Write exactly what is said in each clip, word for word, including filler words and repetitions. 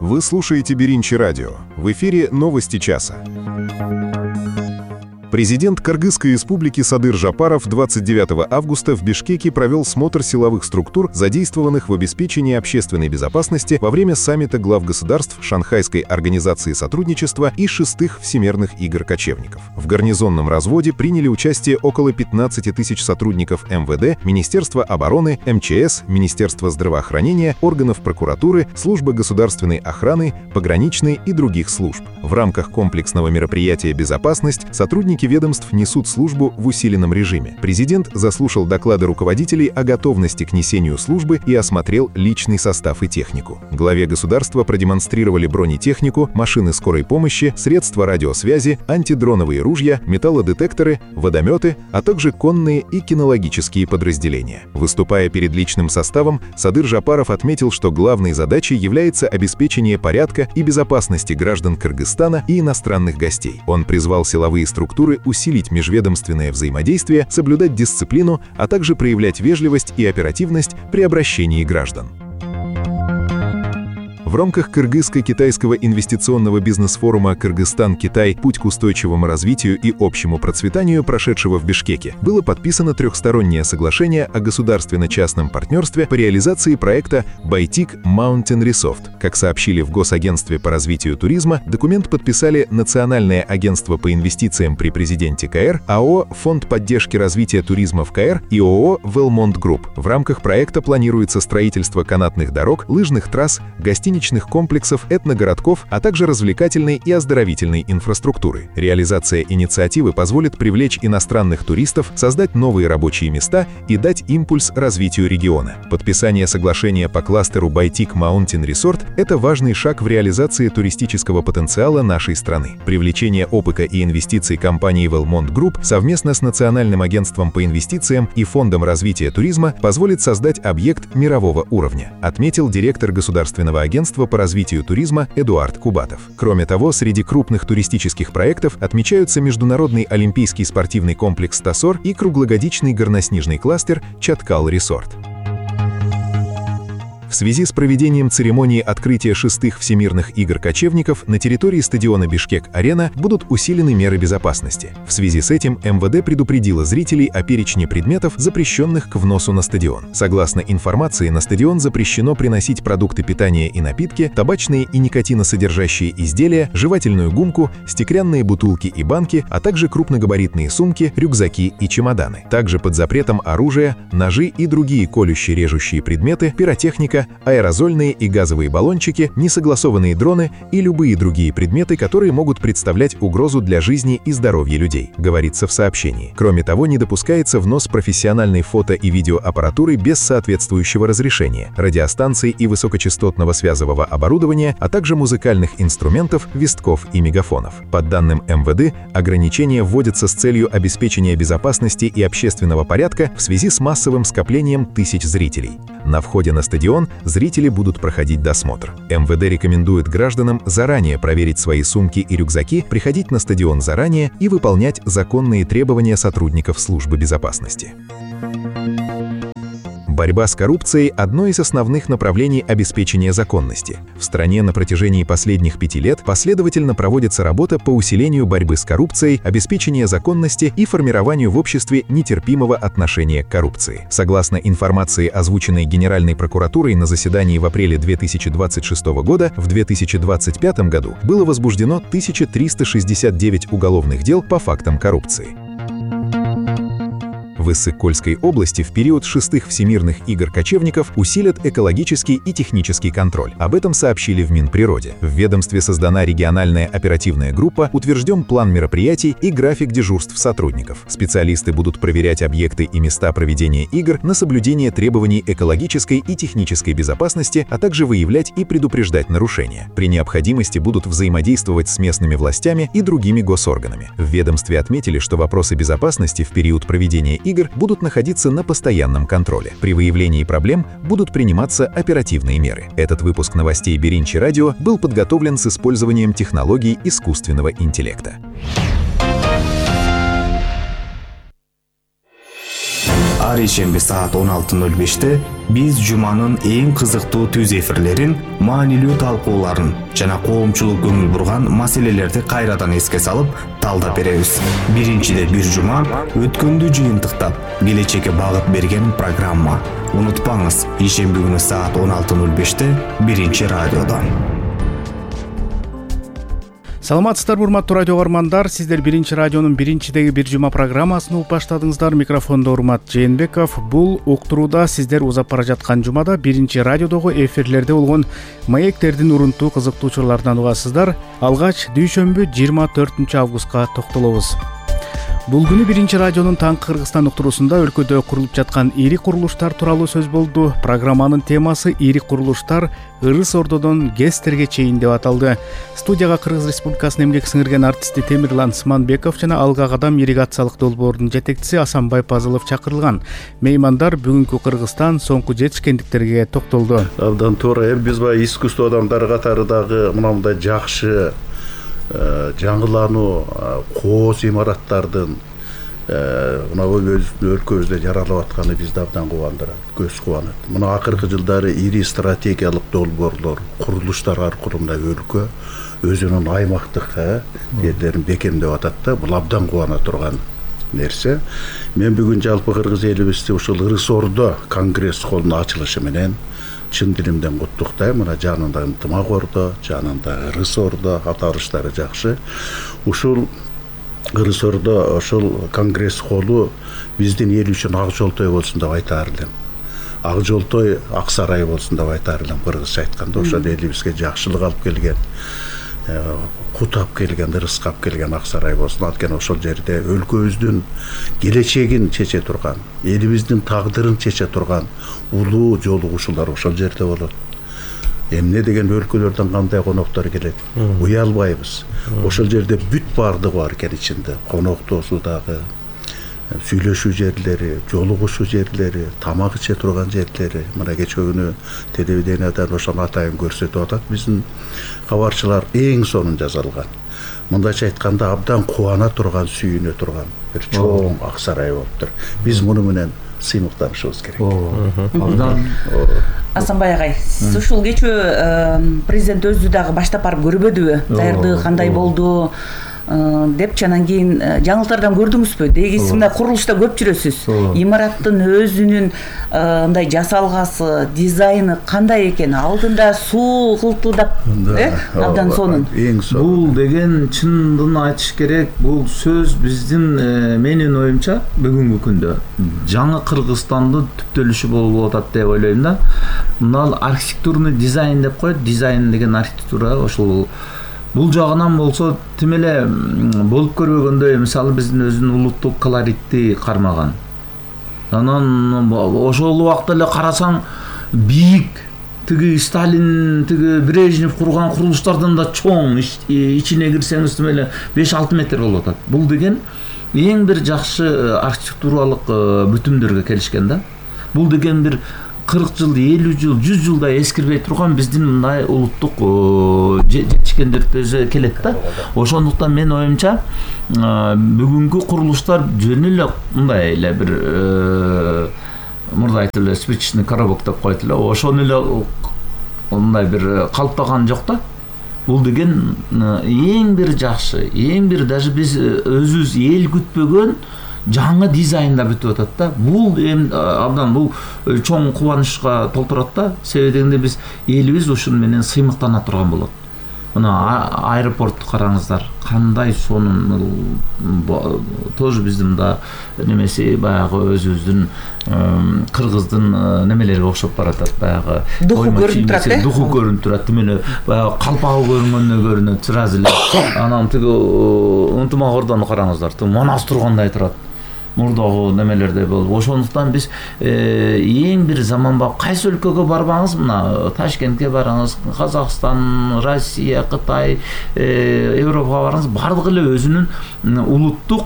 Вы слушаете Беринчи радио. В эфире новости часа. Президент Кыргызской республики Садыр Жапаров двадцать девятого августа в Бишкеке провел смотр силовых структур, задействованных в обеспечении общественной безопасности во время саммита глав государств Шанхайской организации сотрудничества и шестых Всемирных игр кочевников. В гарнизонном разводе приняли участие около пятнадцати тысяч сотрудников эм вэ дэ, Министерства обороны, эм че эс, Министерства здравоохранения, органов прокуратуры, службы государственной охраны, пограничной и других служб. В рамках комплексного мероприятия «Безопасность» сотрудники ведомств несут службу в усиленном режиме. Президент заслушал доклады руководителей о готовности к несению службы и осмотрел личный состав и технику. Главе государства продемонстрировали бронетехнику, машины скорой помощи, средства радиосвязи, антидроновые ружья, металлодетекторы, водометы, а также конные и кинологические подразделения. Выступая перед личным составом, Садыр Жапаров отметил, что главной задачей является обеспечение порядка и безопасности граждан Кыргызстана и иностранных гостей. Он призвал силовые структуры усилить межведомственное взаимодействие, соблюдать дисциплину, а также проявлять вежливость и оперативность при обращении граждан. В рамках Кыргызско-китайского инвестиционного бизнес-форума «Кыргызстан-Китай. Путь к устойчивому развитию и общему процветанию», прошедшего в Бишкеке, было подписано трехстороннее соглашение о государственно-частном партнерстве по реализации проекта «Байтик Mountain Resort». Как сообщили в Госагентстве по развитию туризма, документ подписали Национальное агентство по инвестициям при президенте ка эр, а о о «Фонд поддержки развития туризма в ка эр» и о о о «Велмонт Групп». В рамках проекта планируется строительство канатных дорог, лыжных трасс, гостиничных комплексов, этногородков, а также развлекательной и оздоровительной инфраструктуры. Реализация инициативы позволит привлечь иностранных туристов, создать новые рабочие места и дать импульс развитию региона. Подписание соглашения по кластеру Байтик Mountain Resort – это важный шаг в реализации туристического потенциала нашей страны. Привлечение опыта и инвестиций компании Велмонт Групп совместно с Национальным агентством по инвестициям и Фондом развития туризма позволит создать объект мирового уровня, отметил директор Государственного агентства по развитию туризма Эдуард Кубатов. Кроме того, среди крупных туристических проектов отмечаются Международный олимпийский спортивный комплекс «Тасор» и круглогодичный горноснежный кластер «Чаткал Resort». В связи с проведением церемонии открытия шестых Всемирных игр кочевников на территории стадиона Бишкек-Арена будут усилены меры безопасности. В связи с этим эм вэ дэ предупредило зрителей о перечне предметов, запрещенных к вносу на стадион. Согласно информации, на стадион запрещено приносить продукты питания и напитки, табачные и никотиносодержащие изделия, жевательную гумку, стеклянные бутылки и банки, а также крупногабаритные сумки, рюкзаки и чемоданы. Также под запретом оружие, ножи и другие колюще-режущие предметы, пиротехника, аэрозольные и газовые баллончики, несогласованные дроны и любые другие предметы, которые могут представлять угрозу для жизни и здоровья людей, говорится в сообщении. Кроме того, не допускается внос профессиональной фото- и видеоаппаратуры без соответствующего разрешения, радиостанций и высокочастотного связового оборудования, а также музыкальных инструментов, вестков и мегафонов. По данным эм вэ дэ, ограничения вводятся с целью обеспечения безопасности и общественного порядка в связи с массовым скоплением тысяч зрителей. На входе на стадион зрители будут проходить досмотр. эм вэ дэ рекомендует гражданам заранее проверить свои сумки и рюкзаки, приходить на стадион заранее и выполнять законные требования сотрудников службы безопасности. Борьба с коррупцией – одно из основных направлений обеспечения законности. В стране на протяжении последних пяти лет последовательно проводится работа по усилению борьбы с коррупцией, обеспечения законности и формированию в обществе нетерпимого отношения к коррупции. Согласно информации, озвученной Генеральной прокуратурой на заседании в апреле две тысячи двадцать шестого года, в две тысячи двадцать пятом году было возбуждено тысяча триста шестьдесят девять уголовных дел по фактам коррупции. В Иссык-Кульской области в период шестых Всемирных игр кочевников усилят экологический и технический контроль. Об этом сообщили в Минприроде. В ведомстве создана региональная оперативная группа, утвержден план мероприятий и график дежурств сотрудников. Специалисты будут проверять объекты и места проведения игр на соблюдение требований экологической и технической безопасности, а также выявлять и предупреждать нарушения. При необходимости будут взаимодействовать с местными властями и другими госорганами. В ведомстве отметили, что вопросы безопасности в период проведения игр игр будут находиться на постоянном контроле. При выявлении проблем будут приниматься оперативные меры. Этот выпуск новостей Беринчи радио был подготовлен с использованием технологий искусственного интеллекта. ар ишемби саат он алты ноль беште биз жуманын эң кызыктуу түз эфирлерин, маанилүү талкууларын жана коомчулук көңүл бурган маселелерди кайрадан эске салып талдап беребиз. Биринчиде бир жума өткөндү жыйынтыктап, келечекке багыт берген программа. Унутпаңыз, ишемби күнү саат он алты ноль беште биринчи радиодо. Саламатсыздарбы, урматтуу радио угармандар, сиздер биринчи радионун биринчидеги бир жума программасын угуп баштадыңыздар. Микрофондо Урмат Жээнбеков. Бул уктурууда сиздер узап бара жаткан жумада биринчи радиодогу эфирлерде болгон маектердин урунтуу кызыктуу учурларынан угасыздар. Алгач дүйшөмбү жыйырма төртүнчү августка токтолобуз. Бул күнү биринчи радионун таңкы Кыргызстан уктуруусунда өлкөдө курулуп жаткан ири курулуштар тууралуу сөз болду. Программанын темасы ири курулуштар Ырыс Ордодон ГЭСтерге чейин деп аталды. Студияга Кыргыз Республикасынын эмгек сиңирген артисти Темирлан Сманбеков жана Алга Кадам ирригациялык долбоордун жетекчиси Асанбай Пазылов чакырылган. Меймандар бүгүнкү Кыргызстан соңку жетишкендиктерге токтолду. Абдан туура. Эми биз баягы искусство адамдары катары дагы мындай жакшы жаңылануу кооз имараттардын мына өлкөбүздө жаралып атканы бизди абдан кубандырат, көз кубанат. Мына акыркы жылдары ири стратегиялык долбоорлор, курулуштар аркылуу мына өлкө өзүнүн аймактык жерлерин бекемдеп атат да, бул абдан кубана турган нерсе. Мен бүгүн жалпы кыргыз элибизди ушул Ырыс Ордо конгресс холлунун ачылышы менен чын дилимден куттуктайм. Мына жанында Ынтымак Ордо, жанында Ырыс Ордо, аталыштары жакшы. Ушул Ырыс Ордо ошол конгресс холлу биздин эл үчүн ак жолтой болсун деп айтаар элем. Ак жолтой ак сарай болсун деп айтаар элем. Кыргызча айтканда ошол элибизге жакшылык алып келген, кут алып келген, ырыска алып келген ак сарай болсун. Анткени ошол жерде өлкөбүздүн келечегин чече турган, элибиздин тагдырын чече турган улуу жолугушуулар ошол жерде болот. Эмне деген өлкөлөрдөн кандай коноктор келет, уялбайбыз. Ошол жерде бүт баардыгы бар экен ичинде. Конок тосуудагы, сүйлөшүү жерлери, жолугушуу жерлери, тамак иче турган жерлери. Мына кечээ күнү телевидениядан ошону атайын көрсөтүп атат биздин кабарчылар, эң сонун жасалган. Мындайча айтканда абдан кубана турган, сүйүнө турган бир чоң ак сарай болуптур. Биз муну менен сыймыктанышыбыз керек. Абдан Асанбай агай, сиз ушул кечээ президент өзү дагы баштап барып көрбөдүбү? Даярдыгы кандай болду деп, анан кийин жаңылыктардан көрдүңүзбү? Дегиси мындай курулушта көп жүрөсүз. Имараттын өзүнүн мындай жасалгасы, дизайны кандай экен? Алдында суу кылтылдап, э? Абдан сонун. Бул деген чындын айтыш керек, бул сөз биздин менин оюмча бүгүнкү күндө жаңы Кыргызстандын түптөлүшү болуп атат деп ойлойм да. Мына архитектурный дизайн деп коет, дизайн деген архитектура ошол бул жагынан болсо тим эле болуп көрбөгөндөй, мисалы биздин өзүнүн улуттук колоритти кармаган. Анан ошол убакта эле карасаң бийик, тиги Сталин, тиги Брежнев курган курулуштардан да чоң, ичине кирсеңиз тим эле беш алты метр болуп атат. Бул деген эң бир жакшы архитектуралык бүтүмдөргө келишкен да. Бул деген бир кырк жыл, элүү жыл, жүз жылдай эскирбей турган биздин мындай улуттук жетишкендиктерибизге келет да. Ошондуктан мен оюмча бүгүнкү курулуштар жөн эле мындай эле бир мурда айтып эле спичечный коробок деп коет эле, ошону эле мындай бир калыптаган жок да. Бул деген эң бир жакшы, эң бир даже биз өзүбүз эл күтпөгөн жаңы дизайнда бүтүп атат да. Бул эми абдан бул чоң кубанычка толтурат да. Себеби дегенде биз элибиз ушун менен сыймыктана турган болот. Мына аэропортту караңыздар, кандай сонун, тоже биздин да немеси баягы өзүбүздүн кыргыздын немелерге окшоп баратат, баягы духу көрүнүп турат, э? Духу көрүнүп турат, тим эле баягы калпагы көрүнгөндө көрүнөт сразу эле. Анан тиги Ынтымак Ордону караңыздар, манас тургандай турат. Мурдагы немелерде болуп. Ошондуктан биз эң бир заманбап кайсы өлкөгө барбаңыз, мына Ташкентке барыңыз, Казакстан, Россия, Кытай, Европага барыңыз, бардыгы эле өзүнүн улуттук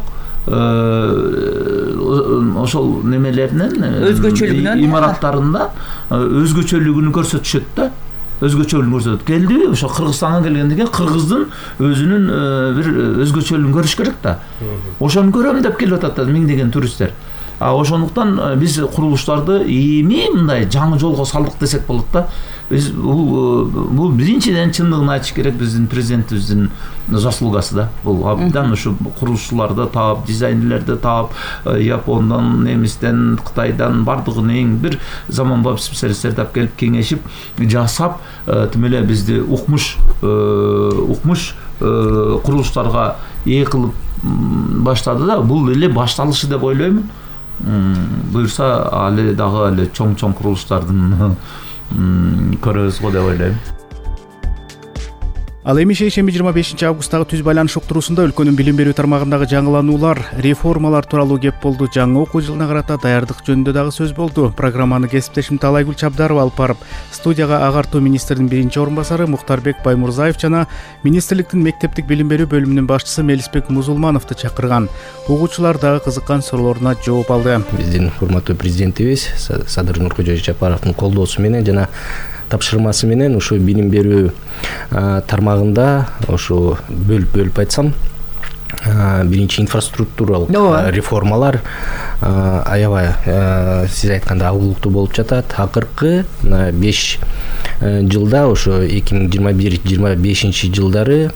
ошол немелеринен, өзгөчөлүгүнөн, имараттарында өзгөчөлүгүн көрсөтүшөт да. Өзгөчөлүгүн көрсөтөт. Келди, ошо Кыргызстанга келгенден кийин кыргыздын өзүнүн бир өзгөчөлүгүн көрүш керек да. Ошону көрөм деп келип атат да миңдеген туристтер. А ошондуктан биз курулуштарды эми мындай жаңы жолго салдык десек болот да. Биз бул бул биринчиден чындыгын айтыш керек, биздин президентибиздин заслугасы да. Бул абдан ушу курулушчуларды таап, дизайнерлерди таап, Япондан, немистен, Кытайдан бардыгын эң бир заманбап специалисттерди алып келип кеңешип, жасап, тим эле бизди укмуш укмуш курулуштарга ээ кылып баштады да. Бул эле башталышы деп ойлоймун. Буюрса али дагы эле чоң-чоң курулуштардын көрөбүз го деп ойлойм. Ал эми шейшемби жыйырма бешинчи августтагы түз байланыш уктуруусунда өлкөнүн билим берүү тармагындагы жаңылануулар, реформалар тууралуу кеп болду. Жаңы окуу жылына карата даярдык жөнүндө дагы сөз болду. Программаны кесиптешим Талайгүл Чабдарова алып барып, студияга агартуу министринин биринчи орун басары Мухтарбек Баймурзаев жана министрликтин мектептик билим берүү бөлүмүнүн башчысы Мелисбек Музулмановду чакырган. Угуучулар дагы кызыккан суроолоруна жооп алды. Биздин урматтуу президентибиз Садыр Нуркожоевич Жапаровдун колдоосу менен жана тапшырмасы менен ушу билим берүү тармагында ушу бөлүп-бөлүп айтсам, биринчи инфраструктуралык реформалар аябай сиз айткандай агуулуктуу болуп жатат. Акыркы беш жылда ошо эки миң жыйырма бир жыйырма бешинчи жылдары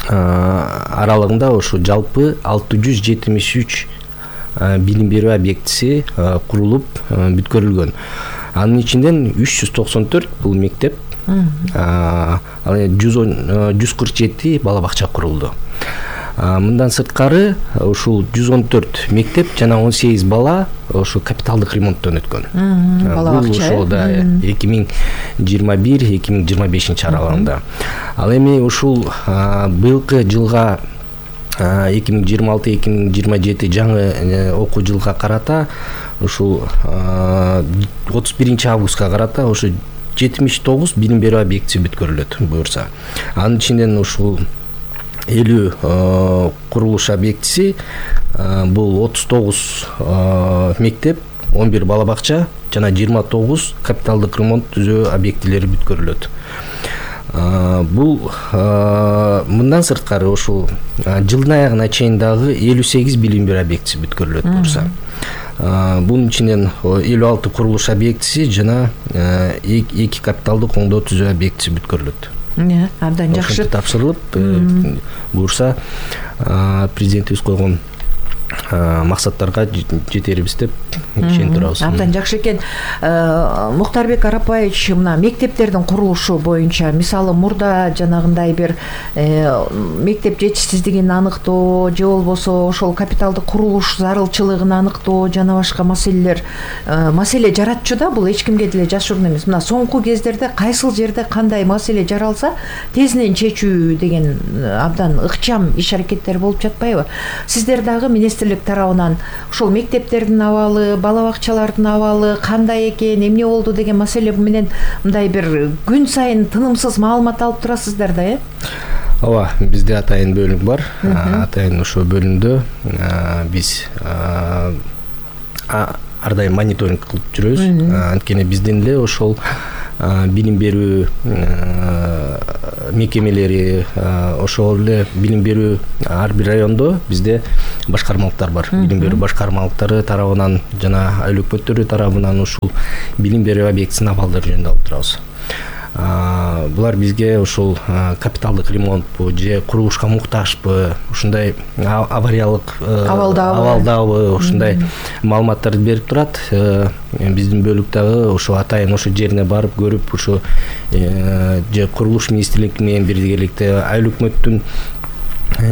аралыгында ушу жалпы алты жүз жетимиш үч билим берүү объектиси курулуп бүткөрүлгөн. Анын ичинден үч жүз токсон төрт бул мектеп, жүз кырк жети бала бакча курулду. Мындан сырткары ушул жүз он төрт мектеп жана он сегиз бала ошо капиталдык ремонттон өткөн. Бала бакча ошол да эки миң жыйырма бир эки миң жыйырма бешинчи аралыгында. Ал эми ушул быйылкы жылга эки миң жыйырма алты эки миң жыйырма жети жаңы окуу жылга карата ушул отуз биринчи августка карата ошо жетимиш тогуз билим берүү объектиси бүткөрүлөт буюрса. Анын ичинен ушул элүү курулуш объектиси, бул отуз тогуз мектеп, он бир бала бакча жана жыйырма тогуз капиталдык ремонт түзөө объектилери бүткөрүлөт. Бул мындан сырткары ушул жылдын аягына чейин дагы элүү сегиз билим берүү объектиси бүткөрүлөт буюрса. Бунун ичинен элүү алты курулуш объектиси жана эки капиталдык оңдоо түзөө объектиси бүткөрүлөт. Абдан жакшы тапшырылып буюрса президентибиз койгон максаттарга жетербиз деп ишенип турабыз. Абдан жакшы экен. Мухтарбек Арапбаевич, мына мектептердин курулушу боюнча мисалы мурда жанагындай бир мектеп жетишсиздигин аныктоо же болбосо ошол капиталдык курулуш зарылчылыгын аныктоо жана башка маселелер маселе жаратчу да, бул эч кимге деле жашыруун эмес. Мына соңку кездерде кайсыл жерде кандай маселе жаралса тезинен чечүү деген абдан ыкчам иш аракеттер болуп жатпайбы? Сиздер дагы министрлик тарабынан ушул мектептердин абалы, бала бакчалардын абалы кандай экен, эмне болду деген маселе менен мындай бир күн сайын тынымсыз маалымат алып турасыздар да, э? Ооба, бизде атайын бөлүм бар. Атайын ошол бөлүмдө биз ар дайым мониторинг кылып жүрөбүз. Анткени биздин эле ошол билим берүү мекемелери, ошол эле билим берүү ар бир райондо бизде башкармалыктар бар. Билим берүү башкармалыктары тарабынан жана айыл өкмөттөрү тарабынан ушул билим берүү объектисинин абалдары жөнүндө алып турабыз. Булар бизге ушул капиталдык ремонтпу же курулушка муктажбы, ушундай авариялык абалдабы, ушундай маалыматтарды берип турат. Биздин бөлүк дагы ошо атайын ошо жерине барып көрүп, ошо же курулуш министрлиги менен биргеликте айыл өкмөттүн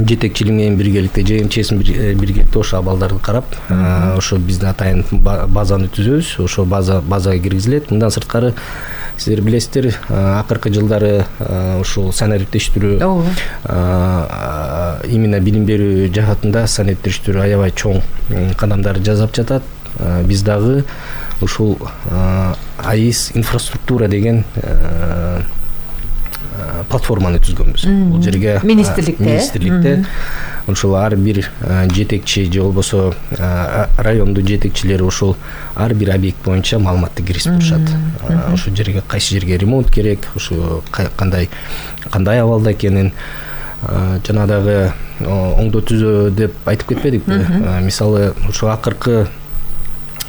жетекчилиги менен биргеликте же МЧСин биргеликте ошо абалдарды карап, ошо биздин атайын базаны түзөбүз, ошо база базага киргизилет. Мындан сырткары сиздер билесиздер, акыркы жылдары ушул санариптештирүү именно билим берүү жаатында санариптештирүү аябай чоң кадамдар жасап жатат. Биз дагы ушул АИС инфраструктура деген платформаны түзгөнбүз. Бул жерге министрликте министрликте ошол ар бир жетекчи же болбосо райондун жетекчилери ошол ар бир объект боюнча маалыматты киргизип турушат. Ошол жерге кайсы жерге ремонт керек, ошо кандай кандай абалда экенин жана дагы оңдоо түзөө деп айтып кетпедикпи? Мисалы ошо акыркы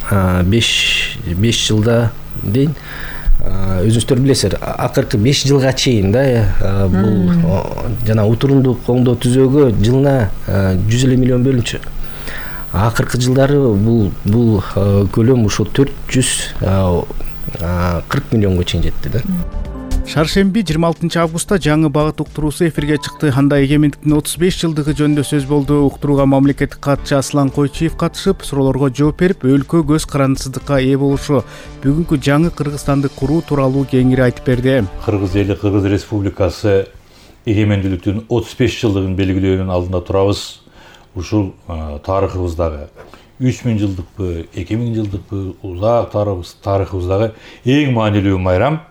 беш беш жылда дейин өзүңүздөр билесиздер, акыркы беш жылга чейин да бул жана утурундук оңдоо түзөөгө жылына жүз элүү миллион бөлүнчү. Акыркы жылдары бул бул көлөм ушул төрт жүз кырк миллионго чейин жетти да. Шаршемби жыйырма алтынчы августта жаңы багыт уктуруусу эфирге чыкты. Анда эгемендиктин отуз беш жылдыгы жөнүндө сөз болду. Уктурууга мамлекеттик катчы Аслан Койчиев катышып, суроолорго жооп берип, өлкө көз карандысыздыкка ээ болушу, бүгүнкү жаңы Кыргызстанды куруу тууралуу кеңири айтып берди. Кыргыз эли, Кыргыз Республикасы эгемендүүлүктүн отуз беш жылдыгын белгилөөнүн алдында турабыз. Ушул тарыхыбыздагы үч миң жылдыкпы, эки миң жылдыкпы узак тарыхыбыздагы эң маанилүү майрам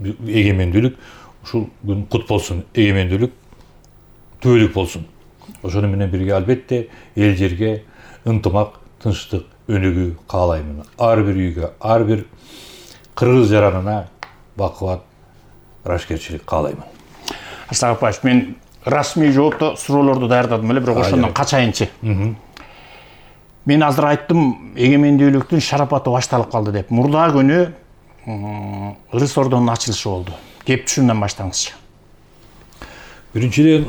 эгемендүүлүк. Ушул күн кут болсун, эгемендүүлүк түбөлүк болсун. Ошону менен бирге албетте эл жерге ынтымак, тынчтык, өнүгүү каалаймын. Ар бир үйгө, ар бир кыргыз жаранына бакубат, ырашкерчилик каалаймын. Аслан Апаевич, мен расмий жоопту суроолорду даярдадым эле, бирок ошондон качайынчы. Мен азыр айттым, эгемендүүлүктүн шарапаты башталып калды деп. Мурда күнү Ырыс Ордонун ачылышы болду. Кеп түшүмдөн баштаңызчы. Биринчиден,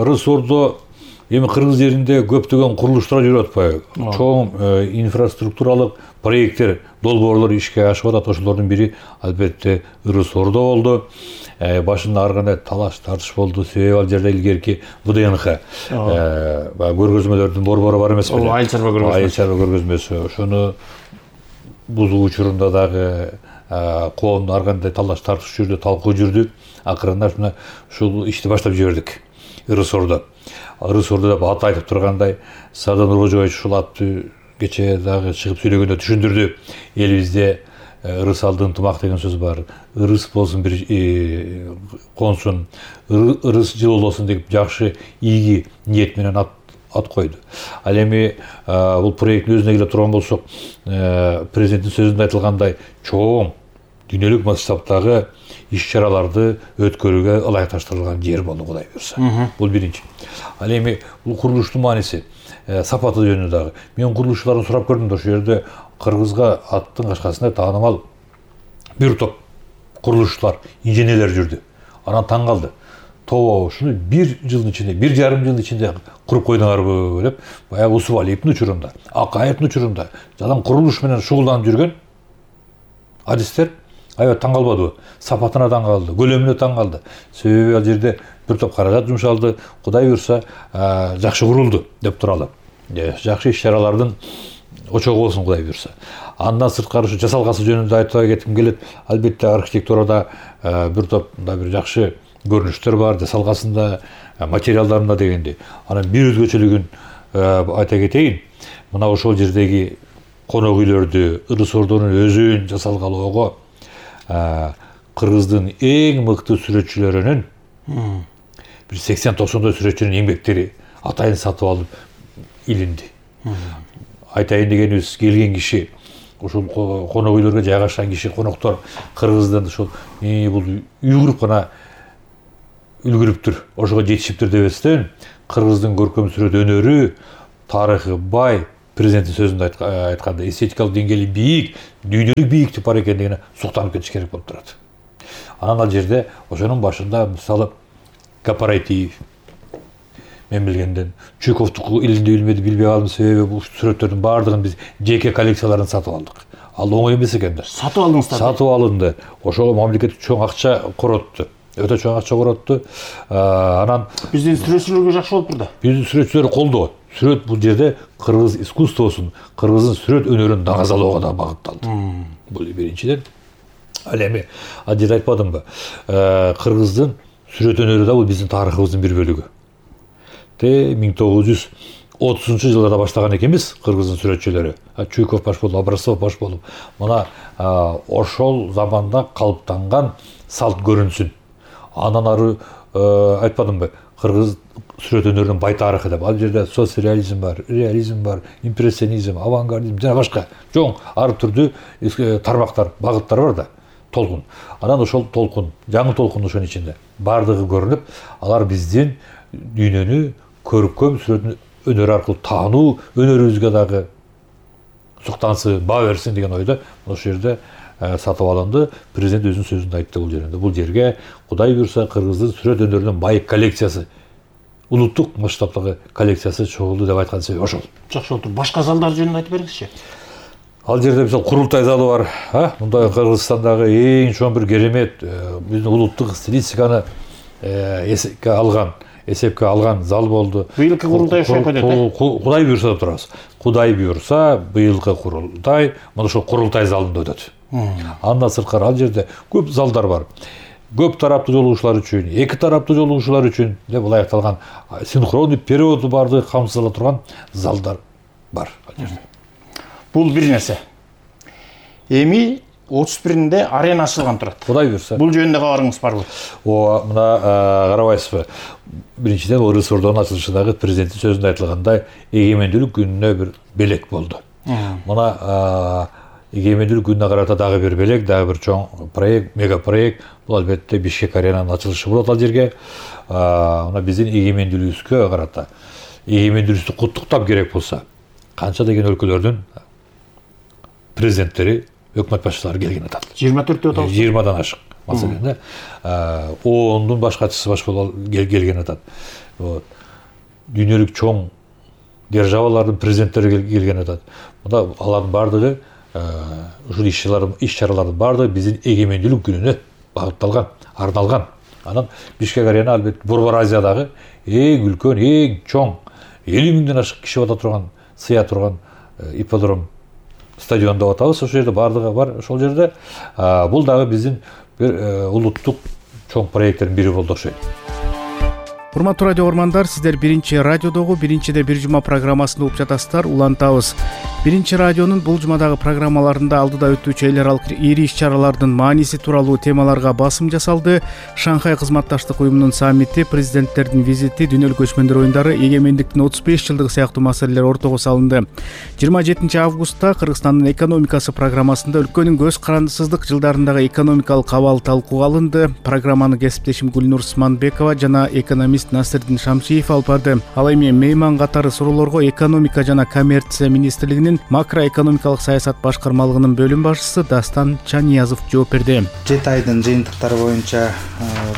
Ырыс Ордо эми Кыргыз жеринде көптөгөн курулуштар жүрүп атпайбы? Чоң инфраструктуралык проекттер, долбоорлор ишке ашып атат. Ошолордун бири албетте Ырыс Ордо болду. Башында ар кандай талаш тартыш болду. Себеби ал жерде илгерки вэ дэ эн ха көргөзмөлөрдүн борбору бар эмеспи? Айыл чарба көргөзмөсү. Айыл чарба көргөзмөсү. Ошону бузуу учурунда дагы коомдо ар кандай талаш тартыш жүрдү, талкуу жүрдү. Акырында ушуна ушул ишти баштап жибердик. Ырыс Ордо. Ырыс Ордо деп ат айтып тургандай, Садан Нуркожоевич ушул атты кечээ дагы чыгып сүйлөгөндө түшүндүрдү. Элибизде ырыс алды ынтымак деген сөз бар. Ырыс болсун бир консун, ырыс жыл болсун деп жакшы ийги ниет менен ат ат койду. Ал эми бул проекттин өзүнө келе турган болсок, президенттин сөзүндө айтылгандай чоң дүйнөлүк масштабтагы иш-чараларды өткөрүүгө ылайыкташтырылган жер болду, Кудай буйрса. Бул биринчи. Ал эми бул курулуштун мааниси, сапаты жөнүндө дагы мен курулушчулардан сурап көрдүм да, ошол жерде Кыргызга аттын кашкасында таанымал бир топ курулушчулар, инженерлер жүрдү. Анан таң калды. Тобо ушуну бир жылдын ичинде, бир жарым жылдын ичинде куруп койдуңарбы деп, баягы Усубалиевдин учурунда, Акаевдин учурунда жалаң курулуш менен шугулданып жүргөн адистер аябай таң калбадыбы? Сапатына таң калды, көлөмүнө таң калды. Себеби ал жерде бир топ каражат жумшалды, Кудай буйрса жакшы курулду деп туралы. Жакшы иш-чаралардын очогу болсун, Кудай буйрса. Андан сырткары ушу жасалгасы жөнүндө айтып кетким келет. Албетте архитектурада бир топ да бир жакшы көрүнүштөр бар, жасалгасында, материалдарында дегенде. Анан бир өзгөчөлүгүн айта кетейин. Мына ошол жердеги конок үйлөрдү, Ырыс Ордонун өзүн жасалгалоого Кыргыздын эң мыкты сүрөтчүлөрүнүн бир сексен токсондой сүрөтчүнүн эмгектери атайын сатып алып илинди. Айтайын дегенибиз, келген киши, ушул конок үйлөргө жайгашкан киши, коноктор Кыргыздын ушул бул үй куруп гана үлгүрүптүр, ошого жетишиптир дебестен, Кыргыздын көркөм сүрөт өнөрү, тарыхы бай, президенттин сөзүндө айтканда эстетикалык деңгээли бийик, дүйнөлүк бийиктик бар экендигине суктанып кетиш керек болуп турат. Анан ал жерде ошонун башында мисалы Капарайтиев, мен билгенден Чуйковдуку илинди билмеди билбей калдым, себеби бул сүрөттөрдүн баардыгын биз жеке коллекцияларын сатып алдык. Ал оңой эмес экен да. Сатып алдыңыздар? Сатып алынды. Ошого мамлекет чоң акча коротту. Өтө чоң акча коротту. Анан биздин сүрөтчүлөргө жакшы болуп турду. Биздин сүрөтчүлөр колдоо. Сүрөт бул жерде кыргыз искусствосун, кыргыздын сүрөт өнөрүн дагазалоого да багытталды. Бул биринчиден. Ал эми ал жерде айтпадымбы? Кыргыздын сүрөт өнөрү да бул биздин тарыхыбыздын бир бөлүгү. Те миң тогуз жүз отузунчу жылдарда баштаган экенбиз кыргыздын сүрөтчүлөрү. Чуйков баш болуп, Абрасов баш болуп. Мына ошол заманда калыптанган салт көрүнсүн. Андан ары айтпадымбы? Кыргыз сүрөт өнөрүнүн бай тарыхы деп. Ал жерде соцреализм бар, реализм бар, импрессионизм, авангардизм жана башка чоң ар түрдүү тармактар, багыттар бар да. Толкун. Анан ошол толкун, жаңы толкун ошонун ичинде бардыгы көрүнүп, алар биздин дүйнөнү көркөм сүрөт өнөрү аркылуу таануу өнөрүбүзгө дагы суктансын, баа берсин деген ойдо ошол жерде сатып алынды. Президент өзүнүн сөзүндө айтты бул жерде. Бул жерге Кудай буйрса кыргыздын сүрөт өнөрүнүн байык коллекциясы, улуттук масштабтагы коллекциясы чогулду деп айткан себеби ошол. Жакшы болду. Башка залдар жөнүндө айтып бериңизчи. Ал жерде мисалы курултай залы бар. Мындай Кыргызстандагы эң чоң бир керемет биздин улуттук стилистиканы эсепке алган, эсепке алган зал болду. Быйылкы курултай ошо өтөт. Кудай буйрса деп турабыз. Кудай буйрса быйылкы курултай мына ошол курултай залында өтөт. Андан сырткары ал жерде көп залдар бар. Көп тараптуу жолугушуулар үчүн, эки тараптуу жолугушуулар үчүн деп ылайыкталган синхрондуу переводу барды камсыздала турган залдар бар ал жерде. Бул бир нерсе. Эми отуз биринде арена ачылган турат. Кудай буйрса. Бул жөнүндө кабарыңыз барбы? О, мына карабайсызбы? Биринчиден Орус Ордонун ачылышындагы президенттин сөзүндө айтылгандай, эгемендүүлүк күнүнө бир белек болду. Мына эгемендүүлүк күнүнө карата дагы бир белек, дагы бир чоң проект, мега проект. Бул албетте Бишкек аренанын ачылышы болот ал жерге. Мына биздин эгемендүүлүгүбүзгө карата эгемендүүлүгүбүздү куттуктап керек болсо, канча деген өлкөлөрдүн президенттери, өкмөт башчылары келген атат. жыйырма төрт деп атабыз. жыйырмадан ашык. Маселен, ондун баш катчысы баш келген атат. Вот. Дүйнөлүк чоң державалардын президенттери келген атат. Мында алардын бардыгы ушул иш-чаралардын бардыгы биздин эгемендүүлүк күнүнө багытталган, арналган. Анан Бишкек арена албетте Борбор Азиядагы эң үлкөн, эң чоң элүү миңден ашык киши бата турган, сыя турган ипподром стадион деп атабыз. Ошол жерде бардыгы бар. Ошол жерде бул дагы биздин бир улуттук чоң проекттердин бири болду окшойт. Урматтуу радио көрөрмандар, сиздер биринчи радиодогу биринчиде бир жума программасында угуп жатасыздар. Улантабыз. Биринчи радионун бул жумадагы программаларында алдыда өтүүчү эл аралык ири иш-чаралардын мааниси тууралуу темаларга басым жасалды. Шанхай кызматташтык уюмунун саммити, президенттердин визити, дүйнөлүк көчмөндөр оюндары, эгемендиктин отуз беш жылдыгы сыяктуу маселелер ортого салынды. жыйырма жетинчи августта Кыргызстандын экономикасы программасында өлкөнүн көз карандысыздык жылдарындагы экономикалык абал талкууга алынды. Программаны кесиптешим Гүлнур Усманбекова жана экономист Насырдин Шамшиев алып барды. Ал эми мейман катары суроолорго экономика жана коммерция министрлигинин макроэкономикалык саясат башкармалыгынын бөлүм башчысы Дастан Чаниязов жооп берди. жети айдын жыйынтыктары боюнча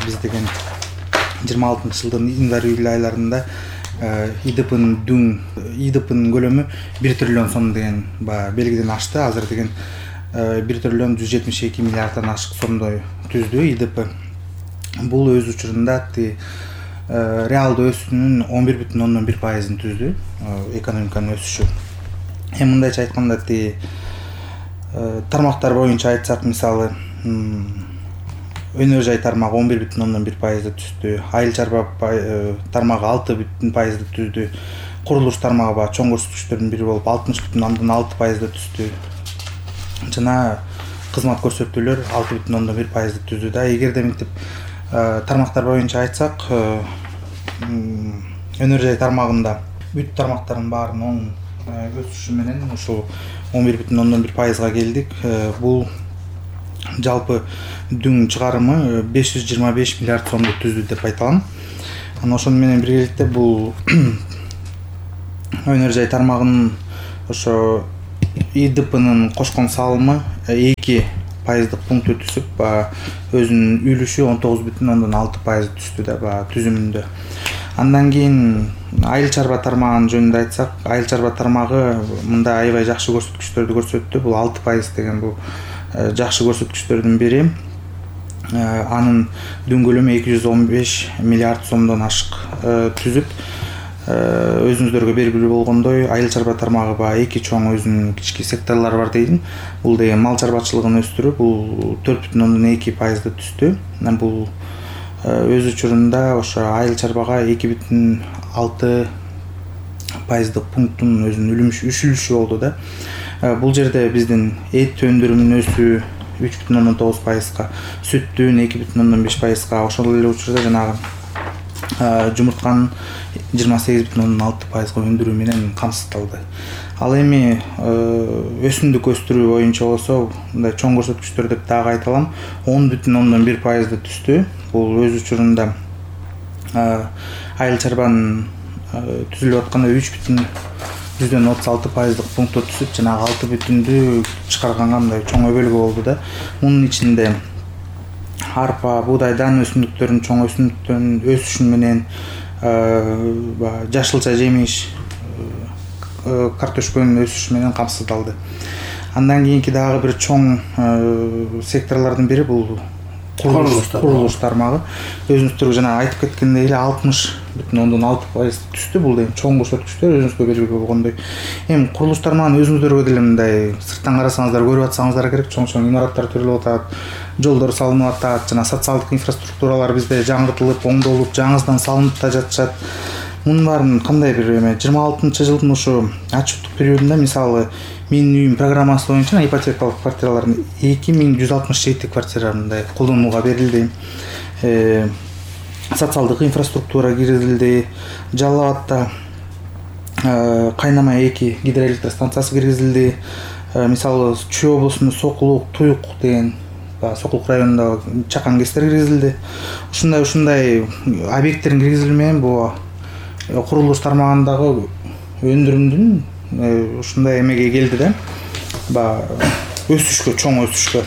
биз деген жыйырма алтынчы жылдын январь июль айларында ИДПнын дүң ИДПнын көлөмү бир триллион сом деген белгиден ашты. Азыр деген бир триллион жүз жетимиш эки миллиарддан ашык сомдой түздү ИДП. Бул өз учурунда реалдуу өсүүнүн он бир бүтүн ондон бир пайызын түздү, экономиканын өсүшү. Эми мындайча айтканда ти тармактар боюнча айтсак, мисалы өнөр жай тармагы он бир бүтүн ондон бир пайызды түздү, айыл чарба тармагы алты бүтүн пайызды түздү, курулуш тармагы ба чоң көрсөткүчтөрдүн бири болуп алтымыш бүтүн ондон алты пайызды түздү. Жана кызмат көрсөтүүлөр алты бүтүн ондон бир пайызды түздү да. Эгерде мынтип тармактар боюнча айтсак, өнөр жай тармагында бүт тармактардын баарын оң өсүшү менен ушул он бир бүтүн ондон бир пайызга келдик. Бул жалпы дүң чыгарымы беш жүз жыйырма беш миллиард сомду түздү деп айталам. Анан ошону менен биргеликте бул өнөр жай тармагынын ошо ИДПнын кошкон салымы эки пайыздык пункт өтүшүп, өзүнүн үлүшү он тогуз бүтүн ондон алты пайыз түздү да түзүмүндө. Андан кийин айыл чарба тармагын жөнүндө айтсак, айыл чарба тармагы мында аябай жакшы көрсөткүчтөрдү көрсөттү. Бул алты пайыз деген бул жакшы көрсөткүчтөрдүн бири. Анын дүң көлөмү эки жүз он беш миллиард сомдон ашык түзүп, өзүңүздөргө белгилүү болгондой, айыл чарба тармагы ба эки чоң өзүнүн кички секторлору бар дейин. Бул деген мал чарбачылыгын өстүрүү, бул төрт бүтүн ондон эки пайызды түздү. Бул өз учурунда ошо айыл чарбага эки бүтүн алты пайыздык пункттун өзүнүн үлүшү болду да. Бул жерде биздин эт өндүрүмүнүн өсүү үч бүтүн ондон тогуз пайызга, сүттүн эки бүтүн ондон беш пайызга, ошол эле учурда жанагы жумуртканын жыйырма сегиз бүтүн ондон алты пайызга өндүрүү менен камсыздалды. Ал эми өсүмдүк өстүрүү боюнча болсо, мындай чоң көрсөткүчтөр деп дагы айталам, он бүтүн ондон бир пайызды түздү. Бул өз учурунда айыл чарбанын түзүлүп атканы үч бүтүн жүздөн отуз алты пайыздык пунктка түсүп жанагы алты бүтүндү чыгарганга мындай чоң өбөлгө болду да. Мунун ичинде арпа, буудай, дан өсүмдүктөрүнүн чоң өсүмдүктөрүнүн өсүшү менен баягы жашылча жемиш, картошканын өсүшү менен камсыздалды. Андан кийинки дагы бир чоң секторлордун бири бул курулуш тармагы. Өзүңүздөр жана айтып кеткендей эле алтымыш бүтүн ондон алты пайыз түстү. Бул эми чоң көрсөткүчтөр өзүңүзгө белгилүү болгондой. Эми курулуш тармагын өзүңүздөргө деле мындай сырттан карасаңыздар көрүп атсаңыздар керек. Чоң-чоң имараттар төрөлүп атат, жолдор салынып атат, жана социалдык инфраструктуралар бизде жаңыртылып, оңдолуп, жаңысынан салынып да жатышат. Мунун баарын кандай бир эме жыйырма алтынчы жылдын ушу отчеттук периодунда мисалы менин үйүм программасы боюнча ипотекалык квартиралардын эки миң жүз алтымыш жети квартира мындай колдонууга берилди. Социалдык инфраструктура киргизилди. Жалал Абадта кайнама эки гидроэлектростанциясы киргизилди. Мисалы Чүй облусунун Сокулук, Туюк деген Сокулук районундагы чакан кестер киргизилди. Ушундай ушундай объекттердин киргизилими менен бул курулуш тармагындагы өндүрүмдүн ушундай эмеге келди да. Баягы өсүшкө, чоң өсүшкө.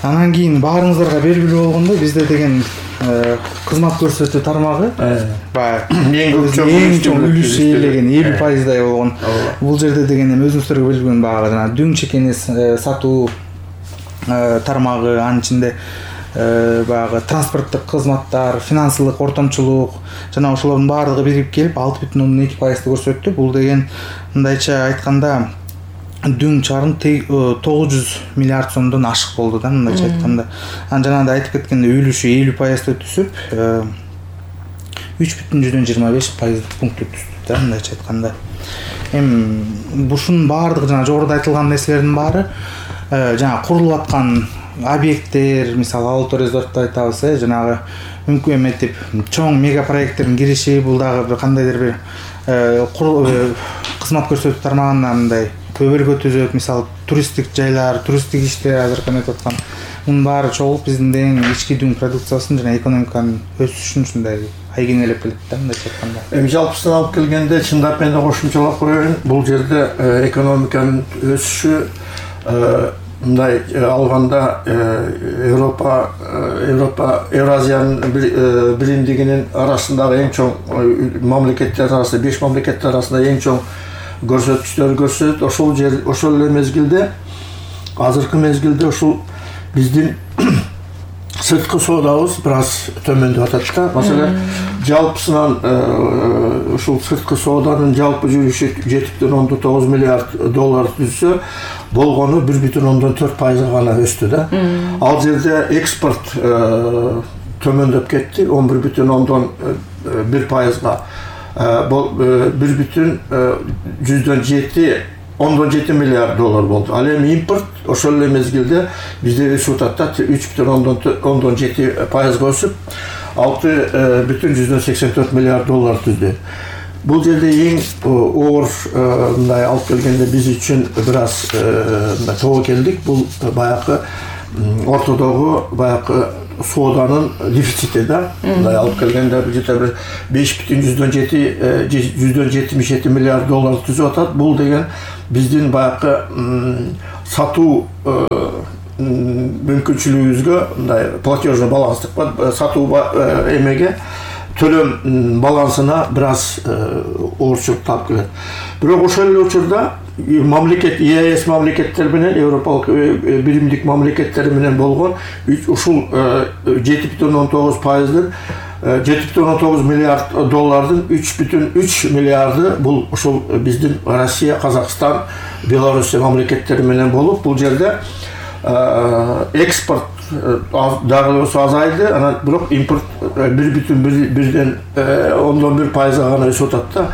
Анан кийин баарыңыздарга белгилүү болгондой бизде деген кызмат көрсөтүү тармагы баягы эң чоң үлүш ээлеген элүү пайыздай болгон. Бул жерде деген эми өзүңүздөргө белгилүү баягы жана дүң чекени сатуу тармагы, анын ичинде баягы транспорттук кызматтар, финансылык ортомчулук жана ошолордун баардыгы бирип келип алты бүтүн ондон эки пайызды көрсөттү. Бул деген мындайча айтканда дүң чарым тогуз жүз миллиард сомдон ашык болду да, мындайча айтканда. Анан жанагындай айтып кеткендей үлүшү элүү пайызды түсүп үч бүтүн жүздөн жыйырма беш пайыздык пунктка түштү да, мындайча айтканда. Эми бушунун баардыгы жана жогоруда айтылган нерселердин баары жана курулуп аткан объекттер, мисалы Алты резортду айтабыз, э, жанагы мүмкүн эметип чоң мега проекттердин кириши, бул дагы бир кандайдыр бир кызмат көрсөтүү тармагына мындай өбөлгө түзөт. Мисалы туристтик жайлар, туристтик иштер азыр эметип аткан. Мунун баары чогулуп биздин деген ички дүң продукциясын жана экономиканын өсүшүн ушундай айгинелеп келет да, мындай айтканда. Эми жалпысынан алып келгенде чындап менде кошумчалап коеюн, бул жерде экономиканын өсүшү мындай алганда Европа Европа Евразиянын биримдигинин арасындагы эң чоң мамлекеттер арасында, беш мамлекеттер арасында эң чоң көрсөткүчтөр көрсөтөт. Ошол жер ошол эле мезгилде азыркы мезгилде ушул биздин сырткы соодабыз бир аз төмөндөп атат да. Маселен, жалпысынан ушул сырткы сооданын жалпы жүрүшү жети бүтүн ондон тогуз миллиард доллар түзсө, болгону бир бүтүн ондон төрт пайызга гана өстү да. Ал жерде экспорт төмөндөп кетти, он бир бүтүн ондон бир пайызга. Бул бир бүтүн жүздөн жети ондон жети миллиард доллар болду. Ал эми импорт ошол эле мезгилде бизде өсүп атат да, үч бүтүн ондон жети пайызга өсүп, алты бүтүн жүздөн сексен төрт миллиард доллар түздү. Бул жерде эң оор мындай алып келгенде биз үчүн бир аз мындай тобо келдик. Бул баягы ортодогу баягы сооданын дефицити да. Мындай алып келгенде жете бир беш бүтүн жүздөн жети жүздөн жетимиш жети миллиард доллар түзүп атат. Бул деген биздин баягы сатуу мүмкүнчүлүгүбүзгө мындай платежный баланстык сатуу эмеге төлөм балансына бир аз оорчулук таап келет. Бирок ошол эле учурда мамлекет ЕАЭС мамлекеттери менен Европалык биримдик мамлекеттери менен болгон ушул жети бүтүн ондон тогуз пайыздын жети бүтүн ондон тогуз миллиард доллардын үч бүтүн үч миллиарды бул ушул биздин Россия, Казакстан, Белоруссия мамлекеттери менен болуп, бул жерде экспорт дагы болсо азайды, анан бирок импорт бир бүтүн бирден ондон бир пайызга гана өсүп атат да.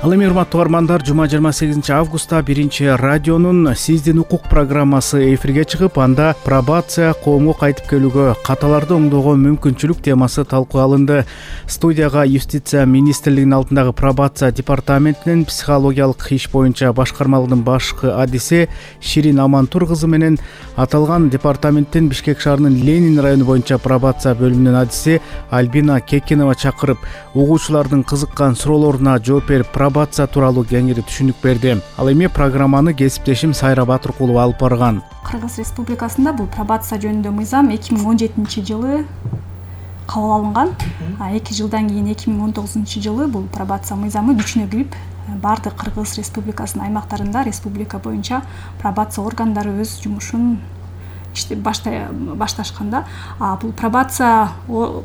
Ал эми урматтуу угармандар, жума жыйырма сегизинчи августта биринчи радионун Сиздин укук программасы эфирге чыгып, анда пробация коомго кайтып келүүгө каталарды оңдоого мүмкүнчүлүк темасы талкууга алынды. Студияга Юстиция министрлигинин алдындагы пробация департаментинин психологиялык иш боюнча башкармалыгынын башкы адиси Ширин Амантур кызы менен аталган департаменттин Бишкек шаарынын Ленин району боюнча пробация бөлүмүнүн адиси Альбина Кекенова чакырып, угуучулардын кызыккан суроолоруна жооп берип, пробация тууралуу кеңири түшүнүк берди. Ал эми программаны кесиптешим Сайра Батыркулова алып барган. Кыргыз Республикасында бул пробация жөнүндө мыйзам эки миң он жетинчи жылы кабыл алынган. эки жылдан кийин эки миң он тогузунчу жылы бул пробация мыйзамы күчүнө кирип, баардык Кыргыз Республикасынын аймактарында республика боюнча пробация органдары өз жумушун башташканда, бул пробация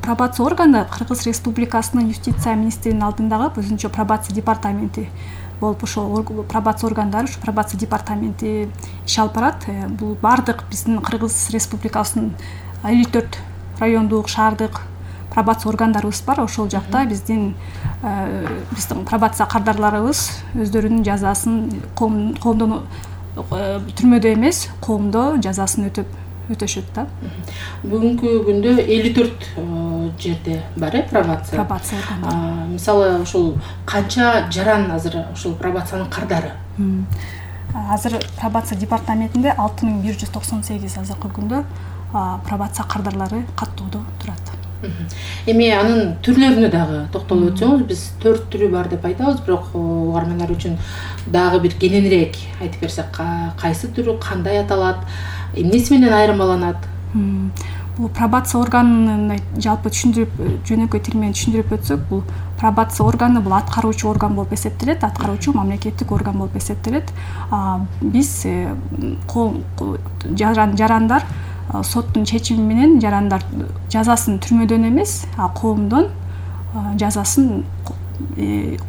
пробация органы Кыргыз Республикасынын юстиция министринин алдындагы өзүнчө пробация департаменти болуп, ошол пробация органдары, ушу пробация департаменти иш алып барат. Бул баардык биздин Кыргыз Республикасынын элүү төрт райондук, шаардык пробация органдарыбыз бар. Ошол жакта биздин биздин пробация кардарларыбыз өздөрүнүн жазасын коомдон түрмөдө эмес, коомдо жазасын өтөп өтөшөт да. Бүгүнкү күндө элүү төрт жерде бар э пробация. Пробация органдары. Мисалы ошол канча жаран азыр ошол пробациянын кардары? Азыр пробация департаментинде алты миң бир жүз токсон сегиз азыркы күндө пробация кардарлары каттоодо турат. Эми анын түрлөрүнө дагы токтолуп өтсөңүз, биз төрт түрү бар деп айтабыз, бирок угармандар үчүн дагы бир кененирээк айтып берсек, кайсы түрү кандай аталат, эмнеси менен айырмаланат? Бул пробация органын жалпы түшүндүрүп, жөнөкөй тил менен түшүндүрүп өтсөк, бул пробация органы бул аткаруучу орган болуп эсептелет, аткаруучу мамлекеттик орган болуп эсептелет. Биз жарандар соттун чечими менен жарандар жазасын түрмөдөн эмес, коомдон жазасын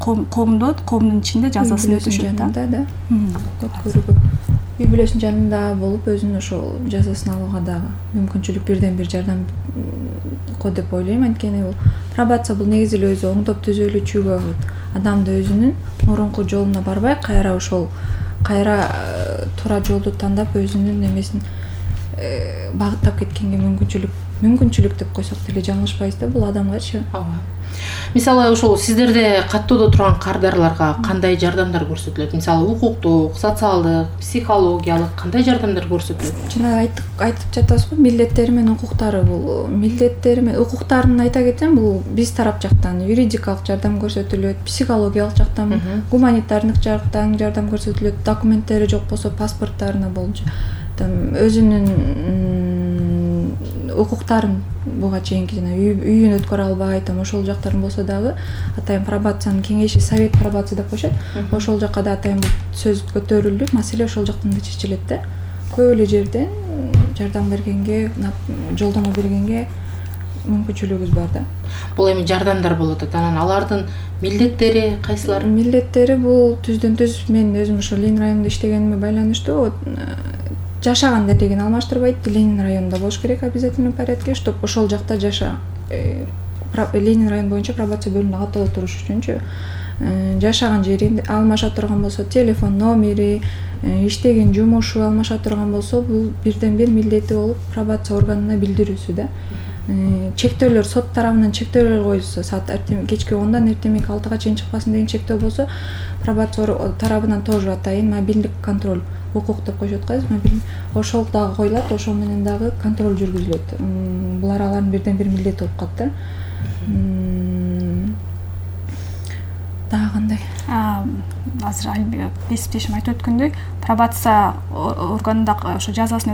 коомдо, коомдун ичинде жазасын өтөшөт да. Үй бүлөсүнүн жанында болуп, өзүнүн ошол жазасын алууга дагы мүмкүнчүлүк бирден бир жардам ко деп ойлойм. Анткени бул пробация бул негизи эле өзү оңдоп түзөлүүчүгө адамды өзүнүн мурунку жолуна барбай, кайра ошол кайра туура жолду тандап өзүнүн эмесин багыттап кеткенге мүмкүнчүлүк мүмкүнчүлүк деп койсок деле жаңылышпайбыз да бул адамгачы. Мисалы ошол сиздерде каттоодо турган кардарларга кандай жардамдар көрсөтүлөт? Мисалы укуктук, социалдык, психологиялык кандай жардамдар көрсөтүлөт? Жана айтып жатабыз го, милдеттери менен укуктары. Бул милдеттери менен укуктарын айта кетсем, бул биз тарап жактан юридикалык жардам көрсөтүлөт, психологиялык жактан, гуманитардык жактан жардам көрсөтүлөт, документтери жок болсо паспорттарына болчу өзүнүн укуктарын буга чейинки жана үйүн өткөрө албай, там ошол жактарын болсо дагы атайын пробациянын кеңеши, совет пробация деп коюшат. Ошол жакка да атайын сөз көтөрүлүп, маселе ошол жактан да чечилет да. Көп эле жерден жардам бергенге, жолдомо бергенге мүмкүнчүлүгүбүз бар да. Бул эми жардамдар болуп атат. Анан алардын милдеттери кайсылар? Милдеттери бул түздөн түз мен өзүм ошо Ленин районунда иштегениме байланыштуу жашаган деген алмаштырбайт. Ленин районунда болуш керек обязательный порядке, чтобы ошол жакта жаша. Ленин район боюнча пробация бөлүмүндө каттоодо туруш үчүнчү жашаган жерин алмаша турган болсо, телефон номери, иштеген жумушу алмаша турган болсо, бул бирден бир милдети болуп пробация органына билдирүүсү да. Чектөөлөр сот тарабынан чектөөлөр коюлса, саат кечки ондан эртеңки алтыга чейин чыкпасын деген чектөө болсо, пробация тарабынан тоже атайын мобилдик контроль укук деп коюшат го, мобилдик ошол дагы коюлат, ошол менен дагы контроль жүргүзүлөт. Булар алардын бирден бир милдети болуп калат да. Дагы кандай? Азыр кесиптешим айтып өткөндөй, пробация органында ошо жазасын